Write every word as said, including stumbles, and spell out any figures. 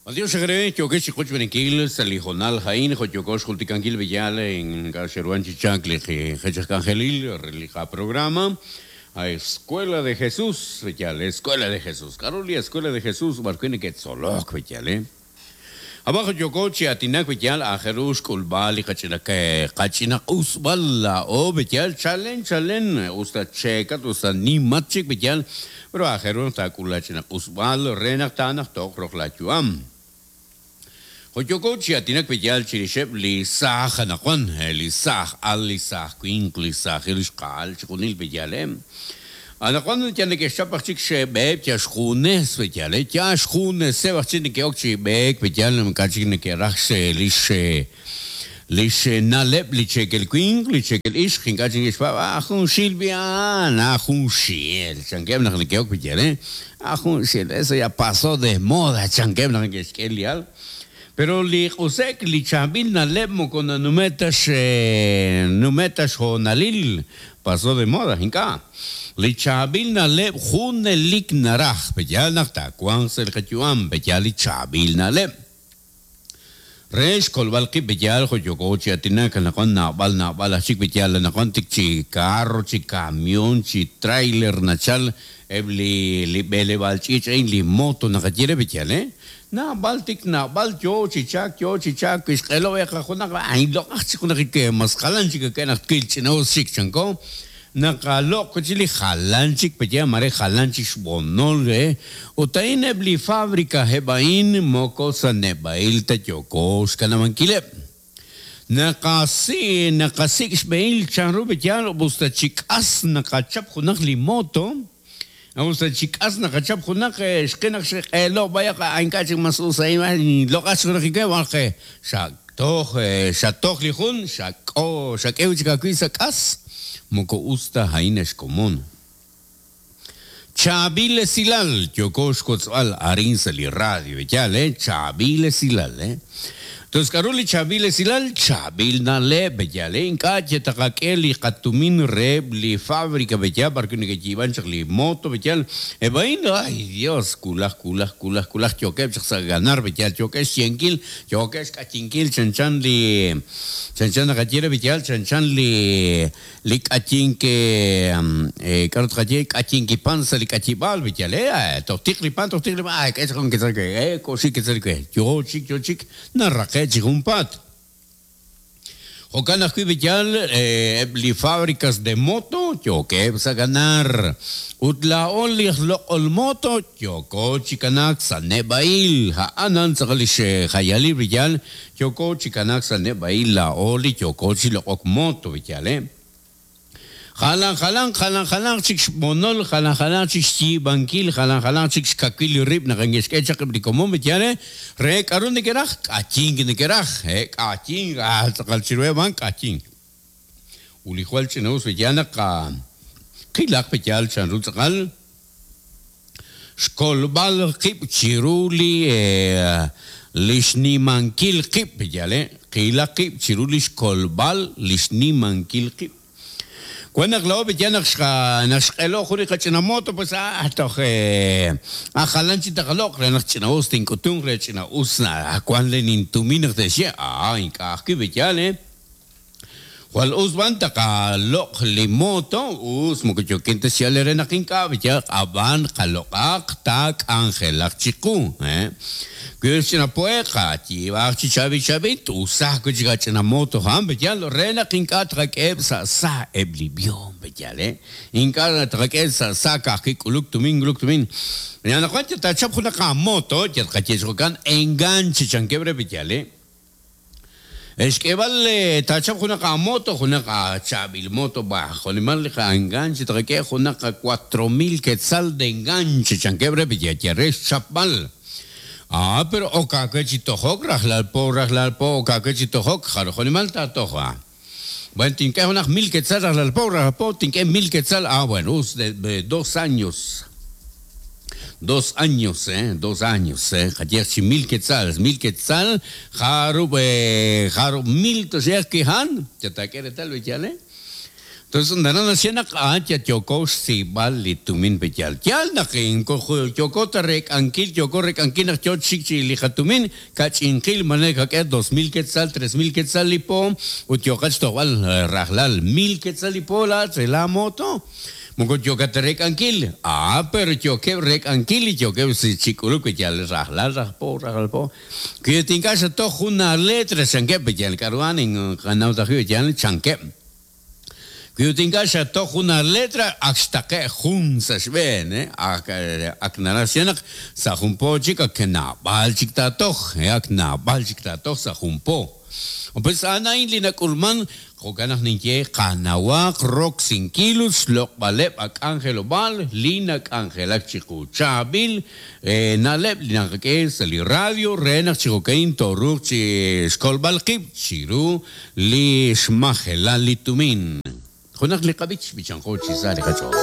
Adiós, agre, yo que chico chuenikil, salijonal jain, joyokos julticankil villal en Garcheruan Chichacle, Jechacangelil, relija programa, a Escuela de Jesús, Villal, Escuela de Jesús, Carolia, Escuela de Jesús, Barquene Quetzoloc, Villal, eh. Abajo yokochi atinak Villal, a Jerush Kulbali, Cachina, Cachina Usbala, o Villal, Chalen, Chalen, usta Checa, usta Nimachik, Villal, pero a Jerush Takulachina Usbal, Renak Tanak, Tok, Roklachuam. Joyokochi atinak Villal, Chirishep, Lisaj, Anajuan, Lisaj, Al Lisaj, Quink, Lisaj, Ilishkal, Chikunil Villal, eh. Anajuan ya ne que chapach chik shebeb, ya shjunes, Villal, eh, ya shjunes, sebach chik ne que okchi bek, Villal, mkachik ne que rachse, lish, lish naleb, lichekel quink, lichekel ish, jinkachik ishpa, ajun shilbian, ajun shiel, chankem ne que ok Villal, eh, ajun shiel, eso ya pasó de moda, chankem ne que esquelial. Pero li qusek li chabil naleb moko numetas numetas honalil pasó de moda hinka. Li chabil naleb junelik naraj beyal nakta kuan sel kachuam beyal li chabil naleb. Resh kolbalki beyal joyokochi atinaka nakon nabal nabal achik beyal nakon tik chi carro chi camión chi trailer nachal ebli li bele balchich ein li moto nakachire beyal eh. Na baltik na bal yo chichak yo chichak isqelo eqajunak ay loqachikunak ke masqalanchik ke nak kilchino sik chanko naqaloq chili jalanchik peya mare jalanchik xbonol eh utain ebli fábrica hebain moko sanebail tayokos kanamankilep naqasi naqasik xbeil chanru beya busta chikas naqachap junak li moto. Vamos a chicas nakachap junak xqinak xqelo vaya ankachik mas usay loqach rike walqe xatoq xatoq lijun xaqo xaqew chikakui sakas moko usta hainesh común Chabile silal yokosh kotzal arin sali radio ya le Chabile silal eh. Entonces, Caroli Chabile silal, Chabil nale, beyale, incache, takakeli, katumin reb, li fábrica, beyal, porque ni que chivan, li moto, beyal, ebain, ay Dios, kulaj, kulaj, kulaj, kulaj, choque, ganar, beyal, choque, cienkil, choque, kachinkil, chanchan, li, chanchan, nakachire, beyal, chanchan, li, li kachinke, eh, karot kachi, kachinki panza, li kachibal, beyal, eh, tohtikli pan, tohtikli pan, ay, que es con que eh, koshi, que que, yo, chic, yo, chic, narraque. Chigumpat. Jocan ajui eh, li fábricas de moto, yo que a ganar. Utla oli lo ol moto, yo ko chikanak sanebail. Haanan sakalishe hayali villal, yo ko chikanak sanebail la oli, yo ko chilok moto villal, eh. Jalan, jalan, jalan, jalan, chik monol, jalan, jalan, chik chi bankil, jalan, jalan, chik kakil rib, nakangeskecha, como me tiene, re, carun de keraj, kaching de keraj, eh, kaching, ah, calchirue van, kaching. Ulijual chineus, villana, ka, kilak pechal, chanrutzakal, skolbal, kip, chiruli, eh, lishnimankil, kip, yale, kilak, kip, chiruli, skolbal, lishnimankil, kip. Cuando la ya nashqelo juri qachinamoto pues ah toh ah jalanchi taqaloq re naqchinaus tinkutung re chinausna cuando nintumin decía ah inkaqki beyale Wal usban taqaloq limoto us mokochoquinte siale re naqinka beya aban qaloqaq tak angelaq chiku eh Kushina poeqa chiba chichabi chabit usah kuchigachina moto ham beyal rena kinka trakeb sa sa eblibion beyal eh inka trakeb sa sa ka kuluk tumin kuluk tumin ya na cuenta ta chap juna moto ya kachechokan enganche chanquebre beyal eh Es que vale tachap juna ka moto juna ka chabil moto bajo ni mal ka enganche trake juna ka cuatro mil quetzal de enganche chanquebre beyal ya res chapal. Ah, pero o kakechitohok, rajlalpo, rajlalpo, o kakechitohok, jarojonimal tatoja. Bueno, tinque unas mil quetzal, rajlalpo, rajlalpo, tinque mil quetzal. Ah, bueno, de, de dos años. Dos años, eh, dos años, eh. Jayechi mil quetzales, mil quetzal, jaru, eh, jaru, mil, tosea, que han, ya te quiere tal, ¿eh? Entonces naraj naxye naq a'an yoko xsiib'al li tumin peyal. Yal naq yoko ta rek'ankil, yoko rek'ankil naq yo chik chi li qatumin, kach'inqil mane kak'e dos mil quetzal, tres mil quetzal li po, ut yoqach tojb'al rajlal mil quetzal li po la la moto. Moko yoka ta rek'ankil. Ah, pero yokeb rek'ankil y yokeb si chik'uluk yal rajlal rajpo, rajlal po. Que tinka xatoj una letra chankeb yal k'aruan en qanaw tajiw yal chankeb. Kuyutinka xatoj una letra ak xtaqe jun sa' xb'een, eh? Ak ak naraj naq sa' jun po chik ak naab'al chik taatoj, eh? Ak naab'al chik taatoj sa' jun po. Pues anain li nak'ulman jo'kan naq ninye qanawaq roksinkil ut xloq'b'aleb' ak'anjelob'aal li nak'anjelak chiqu. Chaab'il eh, na'leb' li naqak'e sa' li radio re naq chi jo'kan tooruuq chi xkolb'al qib' chiru li xmajelal li tumin. Junaq li qab'ich b'ichanqo chi sa' li qach'ool.